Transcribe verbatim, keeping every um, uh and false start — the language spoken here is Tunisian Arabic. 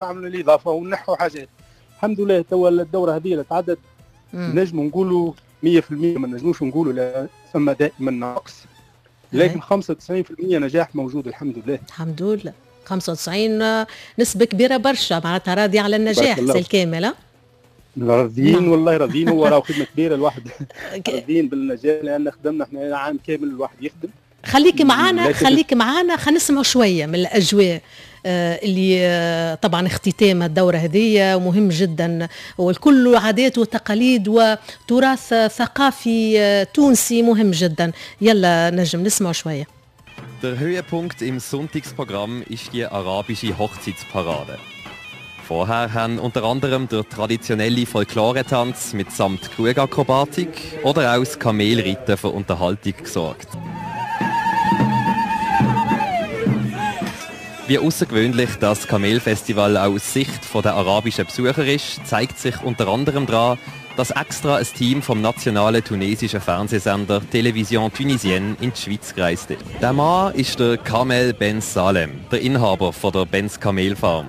نعملوا الاضافة ونحوا حاجات. الحمد لله توا الدورة هذه اللي تعدت نجموا نقولوا مية في المية، ما نجموش نقولوا لا ثم دائما نقص، لكن خمسة وتسعين في المية نجاح موجود الحمد لله. الحمد لله خمسة وتسعين نسبة كبيرة برشا، معناتها راضي على النجاح سي الكامل. راضيين نعم. والله راضيين، هو راهو خدمة كبيرة الواحد راضيين بالنجاح لأن خدمنا احنا عام كامل الواحد يخدم. خليك معانا خليك معانا خلينا نسمعوا شوية من الأجواء اللي طبعا اختتام الدورة هذه مهم جدا، والكل عادات وتقاليد وتراث ثقافي تونسي مهم جدا. يلا نجم نسمع شوية. Der Höhepunkt im Sonntagsprogramm ist die arabische Hochzeitsparade. Vorher haben unter anderem der traditionelle Folkloretanz mitsamt Krugakrobatik oder auch das Kamelreiten für Unterhaltung gesorgt. Wie außergewöhnlich das Kamelfestival auch aus Sicht der arabischen Besucher ist, zeigt sich unter anderem daran, dass extra ein Team vom nationalen tunesischen Fernsehsender Télévision Tunisienne in die Schweiz gereist ist. Der Mann ist der Kamel Ben Salem, der Inhaber von der Benz Kamelfarm.